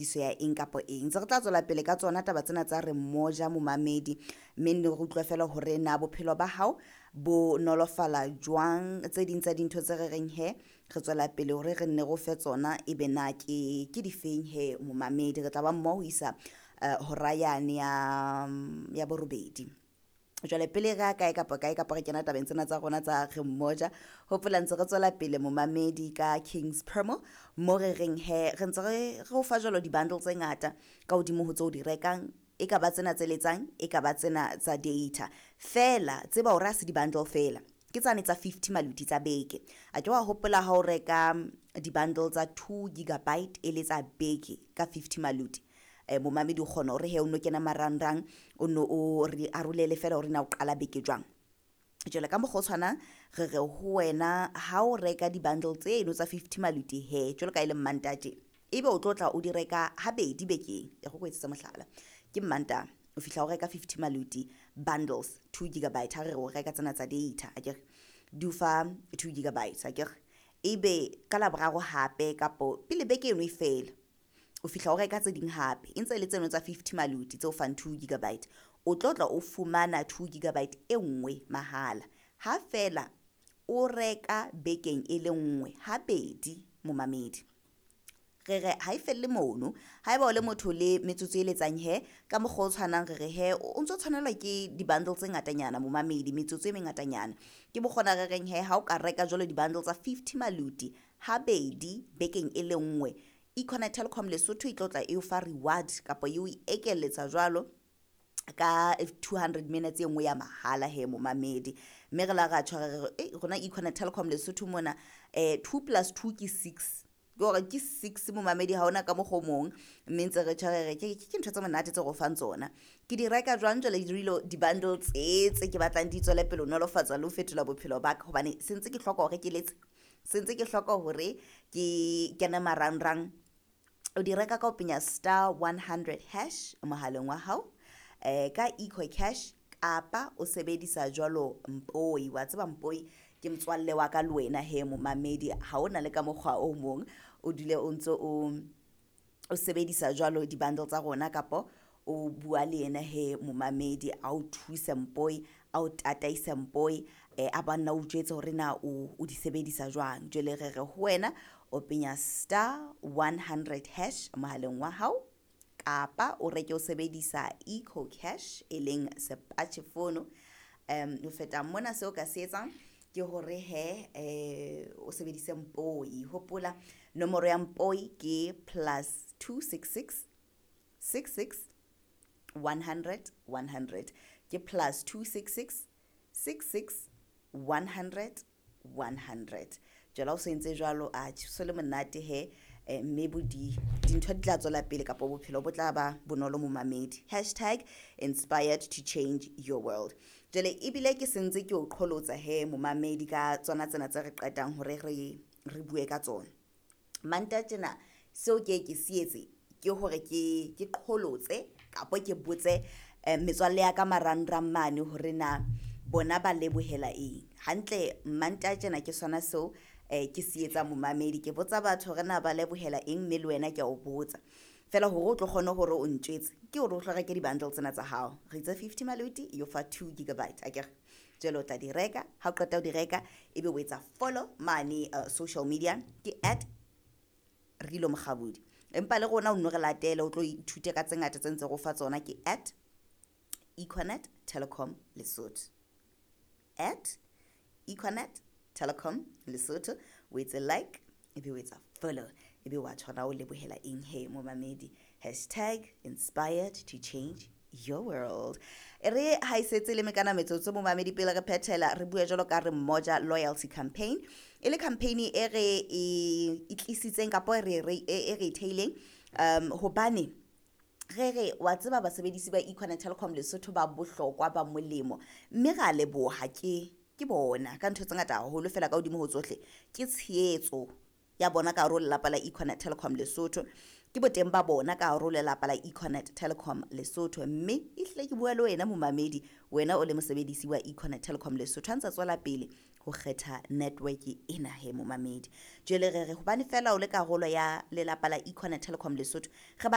Ya eng kapa eng. Ntse re tla tswela pele ka tsona taba tsena tsa re mmoja momamedi, mme nne re utlwe fela hore na bophelo ba hao bo nolofala jwang. Tse ding tsa dintho tse re reng he re tswela pele hore re nne re o fe tsona, ebe na ke difeng he momamedi. Re tla ba mmoho ho isa hora yane ya borobedi. Jwale pele re ya kae kapa kae kapa re kena tabeng tsena tsa rona tsa re mmoja, hopola ntse re tswela pele momamedi ka Kings Promo, mo re reng he re ntse re o fa jwalo di-bundle tse ngata ka hodimo ho tseo di rekang, e ka ba tsena tse letsang, e ka ba tsena tsa data. Feela tseba hore ha se di-bundle feela, ke tsane tsa 50 maluti tsa beke. A ke wa hopola ha o reka di-bundle tsa 2 gigabyte e le tsa beke ka 50 maluti, momamedi o kgona hore he o no kena marangrang, o no o re arolele fela hore na o qala beke jwang. Jwale ka mokgwa o tshwanang re re ho wena ha o reka di-bundle tseno tsa 50 maluti he, jwalo ka e le Mmantaha tje, ebe o tlo tla o di reka habedi bekeng. E re ko etsetse mohlala, ke Mmantaha o fihla o reka 50 maluti bundles 2 gigabyte, ha re re o reka tsena tsa data akere, di o fa 2 gigabytes akere. Ebe ka Laboraro hape kapo pele beke eno e fela, o fihla o reka tse ding hape, e ntse e le tseno tsa 50 maluti tse o fang 2 gigabyte, o tlo tla o fumana 2 gigabyte e nngwe mahala. Ha fela o reka bekeng e le nngwe habedi momamedi. Re re ha e felle mono, haeba o le motho le metsotso e letsang he, ka mokgwa o tshwanang re re he o ntso tshwanelwa ke di-bundle tse ngatanyana momamedi, metsotso e mengatanyana. Ke mokgona re reng he ha o ka reka jwalo di-bundle tsa 50 maluti habedi bekeng e le nngwe, Econet Telcom Lesotho e tlo tla e o fa reward kapa e o ekeletsa jwalo ka 200 minutes e nngwe ya mahala he momamedi. Mme re la ra tjho re re rona Econet Telcom Lesotho mona 2 plus 2 ke 6, ke hore ke 6 momamedi, ha hona ka mokgwa o mong. Mme ntse re tjho re re ke ntho tse monate tse re o fang tsona. Ke di reka jwang jwale di di-bundle tse tse ke batlang di tswele pele ho nolofatsa le ho fetola bophelo ba ka, hobane se ntse ke hloka hore ke letse, se ntse ke hloka hore ke kene marangrang. O di reka ka ho penya star 100 hash mohaleng wa hao, ka Eco Cash, kapa o sebedisa jwalo Mpoi. Wa tseba Mpoi ke motswalle wa ka le wena he momamedi, ha ona le ka mokgwa o mong o dule o ntso o sebedisa jwalo di-bundle tsa rona, kapo o bua le yena he momamedi, a o thuse Mpoi, a o tataise Mpoi, a banna o jwetse hore na o di sebedisa jwang. Jwale re re ho wena o penya star 100 hash mohaleng wa hao, kapa o reke o sebedisa Eco Cash e leng sepatjhe fono. Ho feta mona seo ka se etsang ke hore he o sebedise Mpoi. Hopola nomoro ya Mpoi ke plus 266 66 100 100, ke plus 266 66 100 100. Jwale ha o se entse jwalo, a so le monate he, mme bo dintho di tla tswela pele kapa bophelo bo tla ba bonolo momamedi. Hashtag inspired to change your world. Jwale ebile ke sentse ke o qholotsa he momamedi ka tsona tsena tse re qetang hore re bue ka tsona. Mantaha tjena seo ke ke se etse ke hore ke qholotse kapa ke botse metswalle ya ka marangrang mane hore na bona ba lebohela eng. Hantle Mantaha tjena ke sona seo ke se etsa momamedi, ke botsa batho hore na ba lebohela eng, mme le wena ke a o botsa fela hore o tlo kgone hore o ntjwetse ke hore o tlo reke di-bundle tsena tsa hao. Re itse 50 maluti yo fa 2 gigabyte akere, jwale o tla di reka. Ha o qeta ho di reka ebe o etsa follow mane social media ke at Rilo Mokgabudi, empa le rona o nno re latele o tlo ithute ka tse ngata tse ntse re o fa tsona, ke at Econet Telecom Lesotho, at Econet Telecom Lesotho. O etse like ebe o etsa follow ebe wa tshwana o lebohela eng he momamedi. Hashtag inspired to change your world. E re ha e setse le mekana metsotso momamedi pele re phethela, re bue jwalo ka re mmoja loyalty campaign, e le campaign e re e tlisitseng kapa e re theileng, hobane re re wa tseba basebedisi ba Econet Telecom Lesotho ba bohlokwa ba molemo, mme ra leboha ke bona ka ntho tse ngata haholo fela ka hodimo ho tsohle ke tshehetso ya bona ka hare ho lelapa la Econet Telecom Lesotho, ke boteng ba bona ka hare ho lelapa la Econet Telecom Lesotho. Mme ehlile ke bua le wena momamedi, wena o le mosebedisi wa Econet Telecom Lesotho, ha ntsa tswela pele ho kgetha network ena he momamedi. Jwale re re hobane fela o le karolo ya lelapa la Econet Telecom Lesotho, re